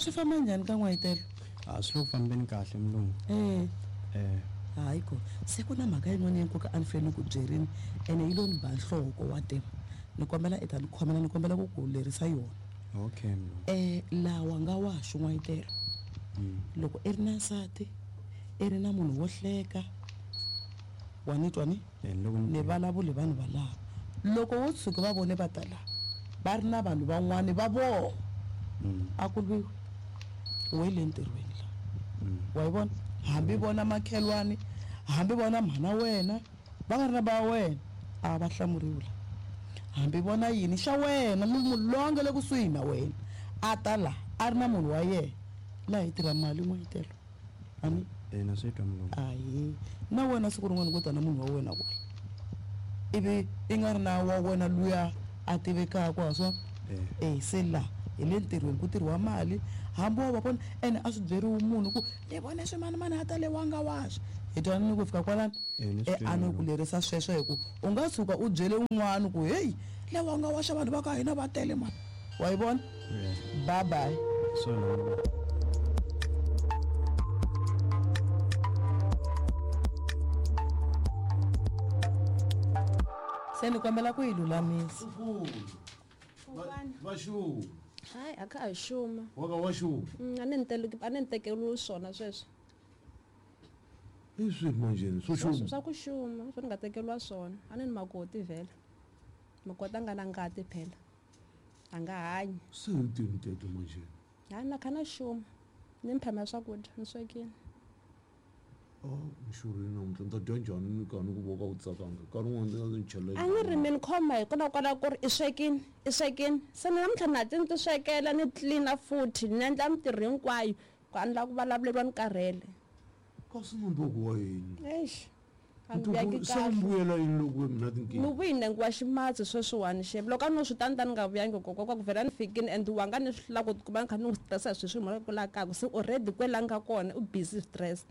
Swi famba njhani ka n'wayitelo? A swi le ku fambeni kahle mulungu. Eh. Eh. Hayi ko se ku na mhaka yin'wana ya nkoka a ni fanele ni ku byerini ene yi lo ni ba nhloko wa tiva. Ni kombela i ta ni khomela ni kombela ku ku lerisa yona. Okay mulungu. Lawa nga wa xo n'wayitelo. Loko i ri na nsati i ri na munhu wo hleka wa ni twa ni? Eh, loko ni Ni vulavuli vanhu valava. Loko wo tshuka va vone va ta la va ri na vanhu van'wani va vona a ku lwiwi we le ntirhweni la. Wa yi vona? Hambi vona makhelwani, hambi vona mhana wena, va nga ri na ba wena, a va hlamuriwi la. Hambi vona yini xa wena, munhu loyi a nga le kusuhi na wena a ta la a ri na munhu wa yena, laha hi tirha mali n'wayitelo. Ani? Eh, na swi twa mulungu. Ahee. Na wena siku rin'wana ku ta na munhu wa wena kwala. Ivi i nga ri na wa wena luya a tivekaka ha swona? Eh. Eh, se la hi le ntirhweni ku tirhiwa mali hambi wo va vona ene a swi byeriwi munhu ku ni vone swimanimani a ta le wanga waxa. Hi twanani ku fika kwalano? Eh, ni swi Eh, a ni twile. ku lerisa sweswo hi ku u nga tshuka u byele un'wana ku heyi le wanga waxa vanhu va ka hina va tele mani. Wa yi vona? Eh. Bye bye. Swona mulungu. Se ni kombela ku yi lulamisa. Va xuma. Hayi a kha ha xuma. Wa ka wa xuma. A ni a ni tekeriwi swona sweswo. I swihi manjheni swo xuma? Swa ku xuma, swo ni nga tekeriwa swona. A ni ni makoti vhela. Makoti a nga na ngati phela. A nga hanyi. Se hi tini teto manjheni? Hayi na kha na xuma. Ni mphama swakudya, ni swekile. Ah, ni xurhile namuntlha ni ta dya njhani ni ka ni ku voka u tsakanga nkarhi wun'wana ndzi nga ndzi chela A ni ri mi ni khoma hi kona kwala ku ri i swekile, i swekile. Se ni namuntlha na ti ni ti swekela ni tlilina futhi ni endla mintirho hinkwayo ku a ni lava ku vulavuleriwa ni karhele. Kasi nondzoko wa yini? Eish. A ni vuyangi Se kahle. mbuyela yini loko we mina tinkingha? Ni vuyi nenge wa ximatsi sweswiwani xem. Loko a no swi tani tani nga vuyangi kokwa ku vhela ni fikini and wa nga ni swi hlula ku tikuma ni kha ni n'wi stressa hi swilo swi mhaka ku la kaya se already kwela nga kona u busy stress.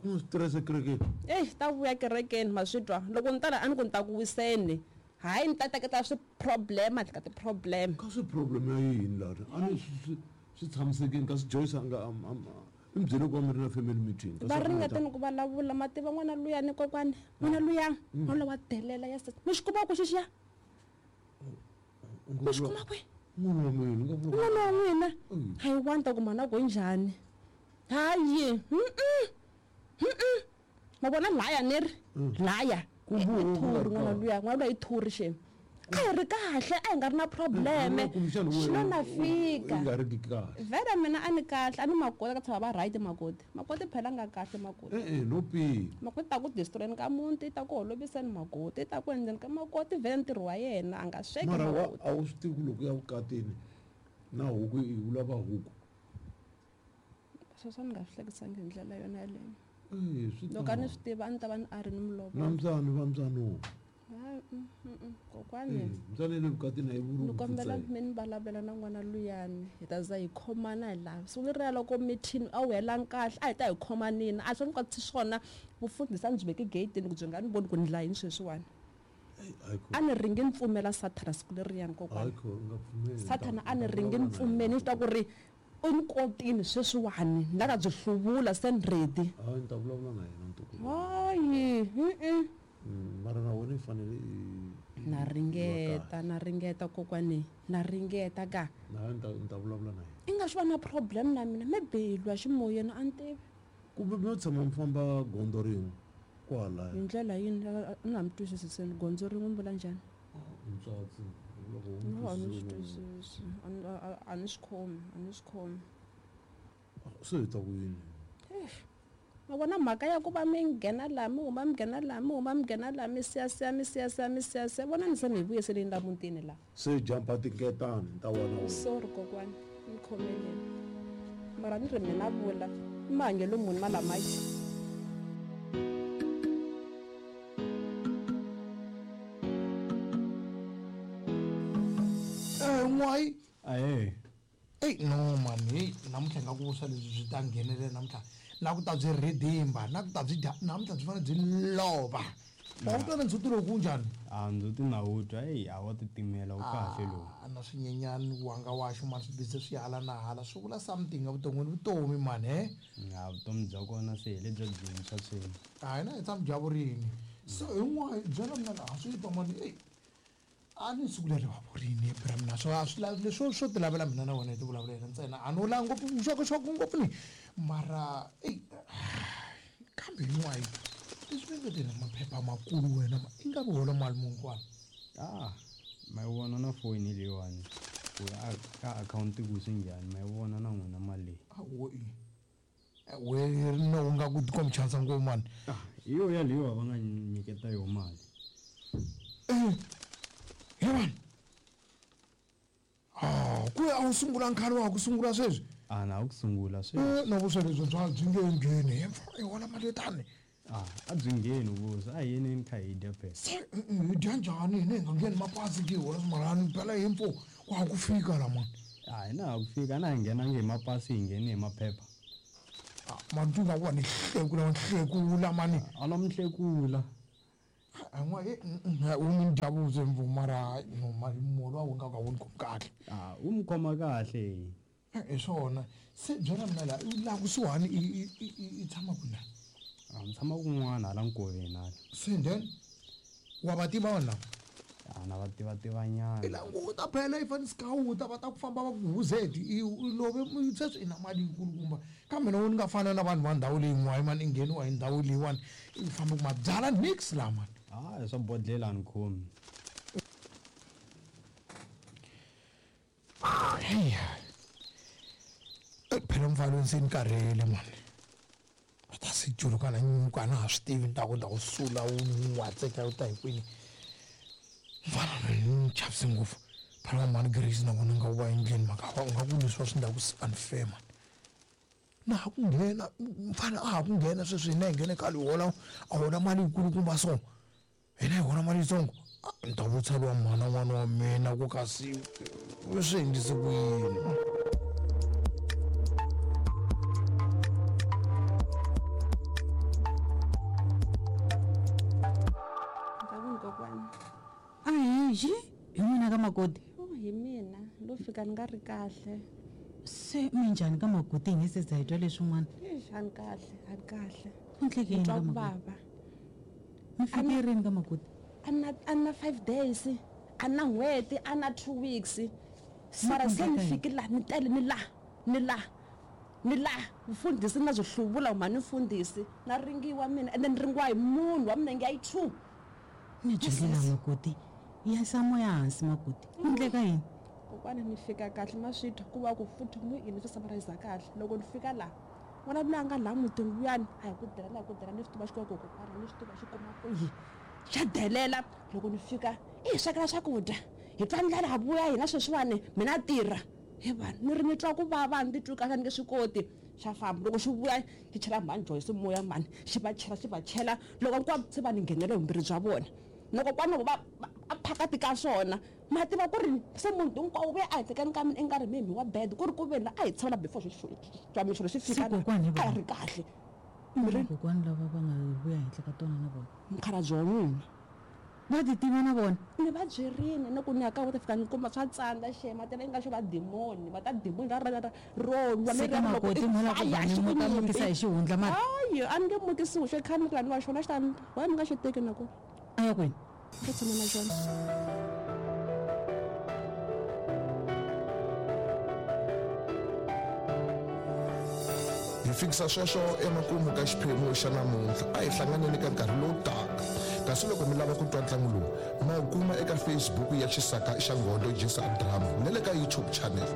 Ku nga stress ekerekeni? Ey, ta vuya kerekeni ma swi twa. Loko ni tala a ni ku ni ta ku wiseni. Hayi ni ta teketa swi problem ka ti problem. Ka swi problem ya yini laha? A ni swi tshamisekile kasi Joyce a nga i mi byele ku va mi ri na family meeting. Va ringeta ni ku vulavula ma tiva n'wana luya ni kokwani n'wana luya n'wana luya wa delela ya mi xi kuma ku xixiya mi xi kuma kwi N'wana wa mina nga vula n'wana wa n'wina a yi wanta ku mhana ku njhani hayi ma vona laya ni ri laya Ku i vuwa ku nga thuri ri n'wana kahle. luya n'wana luya i thuri xem a hi ri kahle a hi nga ri na probleme Kumbexana xi lo na i fika nga ri ki kahle. vhele mina a ni kahle a ni makoti ka tshama va right makoti makoti phela a nga kahle makoti E-e no pima. makoti ta ku destroyeni ka muti ta ku holoviseni makoti ta ku endleni ka makoti vhele ntirho wa yena a nga sweki Mara wa makoti a wu swi tivi ku loko ya vukatini na huku i vula va huku. Sweswo a ni nga swi hlekisangi hi ndlela yona yeleyo. Eh, swi Loko a ni tano. swi tiva a ni ta va ni a ri ni mulovolo. Na mbyana va mbyano. Hayi, kokwani. Eh, mbyana ya le vukatini a yi vuri Ni ku kombela pfutseka. mi ni vulavulela na n'wana luyani hi ta za hi khomana hi laha siku leriya loko mithini a wu helangi kahle a hi ta hi khomanini a swi ni kwatisi swona vufundhisi a ni byi veki geyitini ku byi nga ni voni ku ni la yini sweswiwani a ni ringi ni pfumela sathana siku leriyani kokwani Hayi kho, u nga pfumeli. Sathana a ni ringi ni pfumeli ni swi tiva ku ri u ni kotini sweswiwani ni la ta byi hluvula se ni ready. Hayi ni ta vulavula na yena ntukulu. Hayi, Mara na wena i fanele i Na ringeta, na ringeta kokwani, na ringeta ka. Na ni ta ni ta vulavula na yena. I nga swi va na problem na mina, maybe hi lwa ximoyeni a ni tivi. Kumbe mi yo tshama mi famba gondzo rin'we kwalaya. Hi ndlela yini a ni nga mi twisisi se gondzo rin'we mi vula njhani? Ntswatsi loko u No, a ni swi twisisi. twisisi. A ni swi khomi, a ni swi khomi. Se hi ta ku yini? Eish. Ma vona mhaka ya ku va mi nghena laha mi huma mi nghena laha mi huma mi nghena laha mi siyasiya mi siyasiya mi siyasiya vona ni se mi hi vuyiseleni la mutini laha. Se jampa tinketani ta wena wena. Sorry kokwani, ni khomeleni. Mara ni ri mina vula i mahanyelo muni ma lamaya. Eh, n'wayi. Ahee. Ey, no man, hey, namuntlha nga ku vuswa lebyi byi ta nghenelela namuntlha. Na ku ta byi ridimba, na ku ta byi dya, namuntlha byi fanele byi lova. Wa wu twa na ndzhuti lowu ku njhani? A ndzhuti na wu twa, eyi a wa titimela wu kahle lowu. Na swinyenyani wanga waxo mani swi bize swi hala na hala swi vula something evuton'wini vutomi mani he. A vutomi bya kona se hi lebya byintshwa sweswi. A hina hi tshama bya vurini. So hi n'wana byela mina a swi twa mani eyi a ni siku leri va vurini bra mina swo a swi lavi leswo swo ti lavela mina na wena hi ti vulavulela ntsena a no lava ngopfu vuxokoxoko ngopfu ni mara eyi kambe hi n'wayi leswi mi nge na maphepha makulu wena ma i nga vi hola mali muni kwala. Ah ma yi vona na foni leyiwani ku ka akhawunti ku swi njhani ma yi vona na n'wina mali leyi. Awo i we no u nga ku tikombi chansa ngopfu mani. Hi yo yaleyo va nga nyiketa yo mali. He vanhu ku a wu sungula nkhale wa ha ku sungula sweswi. A na ha ku sungula sweswi. Na vuswa lebyi bya byi nge ngheni he mfana i hola mali yo tani. A byi ngheni vuswa a hi yeneni kha hi dya phela. Se hi dya njhani hina hi nga ngheni mapasi ke hi hola swimalani phela hi mfo wa ha ku fika la mani. A hina ha ku fika na hi nghenangi hi mapasi hi nghene hi maphepha. Mani tu nga ku wa ni hlekula wa ni hlekula mani. A no mi hlekula. An'wa u ni dya vuswa mfo mara no mali muholo wa wu nga ka wu ni khomi kahle. A wu mi khoma kahle. Hi swona se byela mina la laha kusuhani i tshama kwini? A ni tshama kun'wana hala nkoveni hala. Se then wa va tiva vanhu lava? A na va tiva tivanyana. I languta phela i fane sikawuta va ta ku famba va ku huzeti i love sweswi i na mali yikulukumba kambe na wena ni nga fana na vanhu va ndhawu leyin'wana mani i ngheniwa hi ndhawu leyiwani i famba ku mabyala nix laha mani. A swa bodlhela a ni khomi. Heyi phela mfana se ni karhele mani. Ta se juluka na nyuka na ha swi tivi ni ta ku ni ta ku sula wu n'watseka wu ta hi kwini. Mfana loyi ni n'wi chavise ngopfu phela va mhani Grace na vona nga ku va endleni mhaka u nga ku leswi va swi endlaku swi unfair mani. Na ha ku nghena mfana a ha ku nghena sweswi hina hi nghene khale hi hola a hola mali yikulukumba so hina hi hola mali yitsongo ni ta vutisa luwa mhana n'wana wa mina ku kasi swi endlise ku yini. Ahi hi n'wina ka makoti? Hi mina lo fika ni nga ri kahle. Se minjhani ka makoti hi nge se za hi twa leswin'wana? Eish a ni kahle a ni kahle. Ku endleke yini Ni twa ka ku makoti? vava. Mi fike rini ka makoti? A ni na 5 days a ni na n'hweti a na 2 weeks. Mara se ni fikile laha ni tele ni laha ni laha ni laha mfundhisi na byi hluvula mhani mfundhisi na ringiwa mina ende ni ringiwa hi munhu wa minenge ya yi 2. Ni byele la makoti ya sa moya hansi makoti ku endleka yini? Kokwana ni fika kahle ma swi twa ku va ku futhi mu yini swi summarize kahle loko ni fika laha n'wana loyi a nga laha mutini luyani a hi ku delela hi ku delela ni swi tiva xikwembu kokwana ni swi tiva xi kuma ku yi xa delela loko ni fika i hi swekela swakudya hi twa ndlela ha vuya hina sweswiwani mina tirha he vanhu ni ri ni twa ku vava ni titwi kahle ni nge swi koti xa famba loko xi vuya xi chela mhani Joyce moya mhani xi va chela xi va chela loko hinkwavo se va ni nghenela hi vumbirhi bya vona loko kwani va a phakati ka swona ma tiva ku ri se munhu hinkwawo vuya a hehlekeni ka mina i nga ri mimi wa bed ku ri ku ve la a hi tshamela before xo xi fika a ri kahle. Kokwani lava va nga vuya henhla ka tona na vona mukhalabye wa n'wina va ti tiva na vona ni va byerini ni ku ni ya ka va ta fika ni kuma swa tsandza xema tela i nga xo va dimoni va ta dimoni ra ra ro lwa Se ka makoti mo la ku va ni muta mukisa hi xihundla mara hayi a ni nge mukisiwi xo khani ku laniwa xona xi ta wa mi nga xi teki na ku a ya kwini ku tshama na xona. Hi fikisa sweswo emakumu ka xiphemu xa namuntlha a hi hlanganeni ka nkarhi lowu taka kasi loko mi lava ku twa ntlangu lowu ma wu kuma eka Facebook ya Xisaka xa Nghondo Jisa Drama na le ka YouTube channel.